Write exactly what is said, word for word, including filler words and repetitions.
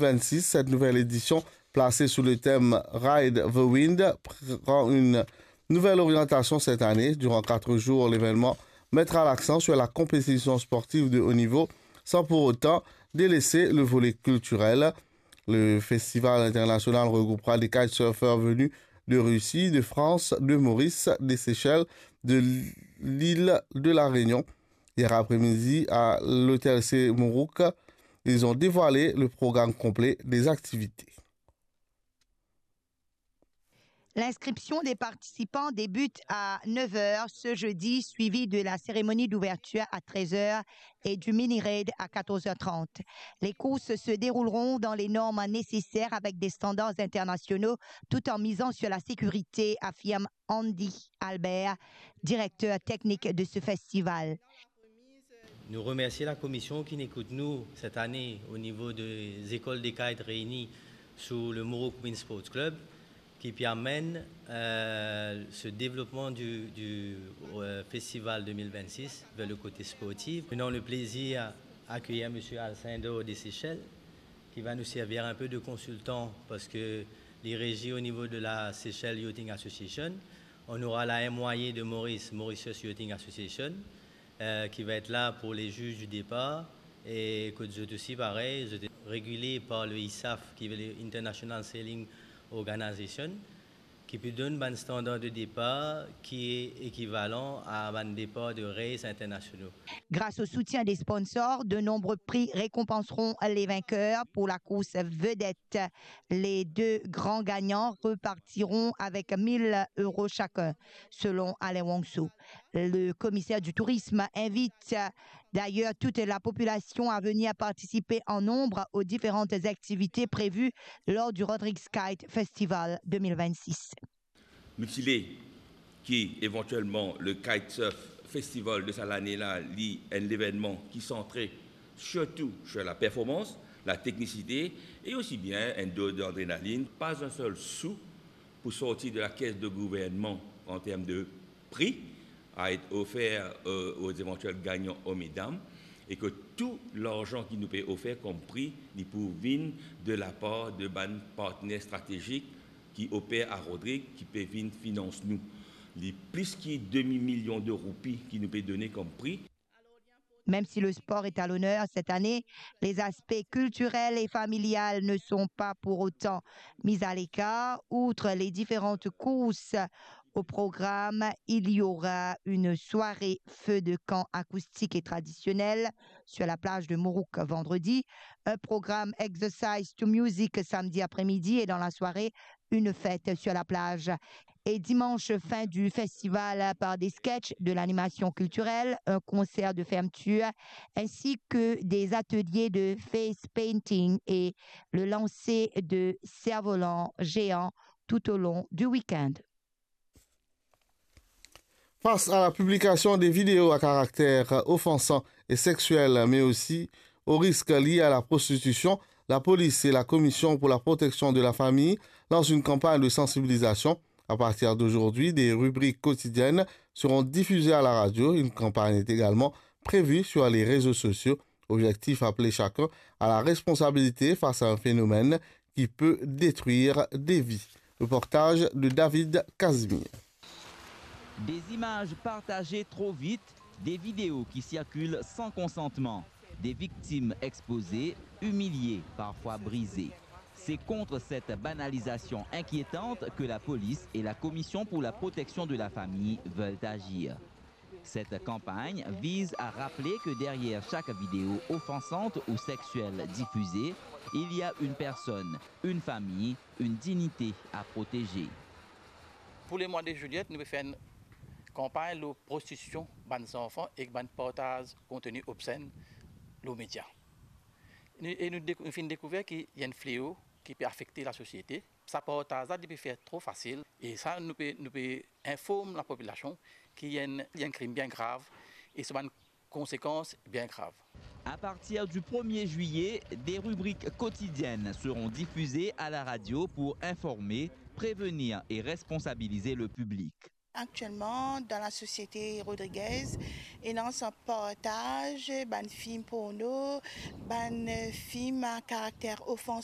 vingt-six, cette nouvelle édition, placée sous le thème Ride the Wind, prend une nouvelle orientation cette année. Durant quatre jours, l'événement mettra l'accent sur la compétition sportive de haut niveau, sans pour autant délaisser le volet culturel. Le festival international regroupera des kitesurfers venus de Russie, de France, de Maurice, des Seychelles, de l'île de la Réunion. Hier après-midi, à l'hôtel C Mourouk, ils ont dévoilé le programme complet des activités. L'inscription des participants débute à neuf heures ce jeudi, suivie de la cérémonie d'ouverture à treize heures et du mini-raid à quatorze heures trente. Les courses se dérouleront dans les normes nécessaires avec des standards internationaux, tout en misant sur la sécurité, affirme Andy Albert, directeur technique de ce festival. Nou remersie lakomision ki'nn ekout nou set ane o nivo de Lekol de Kite Reyni sou le Mourouk Wind Sports Club, ki pe amenn, euh, ce développement du, du, euh, festival deux mille vingt-six vers le côté sportif. Nous avons le plaisir à accueillir monsieur Alcindor des Seychelles, qui va nous servir un peu de consultant parce que li rezi au niveau de la Seychelles Yachting Association. On aura la M Y A de Maurice, Mauritius Yachting Association, euh, qui va être là pour les juges du départ. Et kot zot osi, parey, zot regile par le I S A F, ki ve le International Sailing Organization, ki pe donn bann standar de depar ki ekivalan a bann depar de race internasional. Grâce au soutien des sponsors, de nombreux prix récompenseront les vainqueurs pour la course vedette. Les deux grands gagnants repartiront avec mille euros chacun, selon Alain Wongso. Le commissaire du tourisme invite d'ailleurs toute la population à venir participer en nombre aux différentes activités prévues lors du Rodrigues Kite Festival deux mille vingt-six. Nou ti le ki evantielman le Kitesurf Festival de sa lane la, li enn levennman ki santre sirtou sur la performans, la teknisite e osi bien enn doz d'adrenalin. Pa enn sel sou pou sorti de la caisse de gouvernement en termes de prix à être offert, euh, aux éventuels gagnants hommes et dames, et que tout l'argent ki nou pe ofer kom pri, li pou vinn de la par de bann partner stratezik ki oper a Rodrigues, ki pe vinn finans nou. Li plis ki demi milion de roupi ki nou pe done kom pri. Même si le sport est à l'honneur cette année, les aspects culturels et familial ne sont pas pour autant mis à l'écart. Outre les différentes courses au programme, il y aura une soirée feu de camp acoustique et traditionnelle sur la plage de Mourouk vendredi, un programme exercise to music samedi après-midi et dans la soirée, une fête sur la plage. Et dimanche, fin du festival par des sketchs, de l'animation culturelle, un concert de fermeture, ainsi que des ateliers de face painting et le lancer de cerfs-volants géants tout au long du week-end. Face à la publication des vidéos à caractère offensant et sexuel, mais aussi aux risques liés à la prostitution, la police et la Commission pour la protection de la famille lancent une campagne de sensibilisation. À partir d'aujourd'hui, des rubriques quotidiennes seront diffusées à la radio. Une campagne est également prévue sur les réseaux sociaux. Objectif, appeler chacun à la responsabilité face à un phénomène qui peut détruire des vies. Reportage de David Casimir. Des images partagées trop vite, des vidéos qui circulent sans consentement, des victimes exposées, humiliées, parfois brisées. C'est contre cette banalisation inquiétante que la police et la Commission pour la protection de la famille veulent agir. Cette campagne vise à rappeler que derrière chaque vidéo offensante ou sexuelle diffusée, il y a une personne, une famille, une dignité à protéger. Pou lemwa de zilyet, nou pe fer enn kanpagn lor prostitisyon bann zanfan ek bann partaz konteni obsenn lor media. Nou, e nou dek-, nou finn dekouver ki ena enn fleo ki pe afekte lasosiete. Sa partaz la, li pe fer tro fasil. E sa, nou pe, nou pe inform lapopilasion ki ena enn, enn krim bien grav e so bann konsekans bien grav. À partir du premier juillet, des rubriques quotidiennes seront diffusées à la radio pour informer, prévenir et responsabiliser le public. Aktielman, dan lasosiete rodrigez, ena sa partaz bann fim porno, bann fim a karakter ofansan.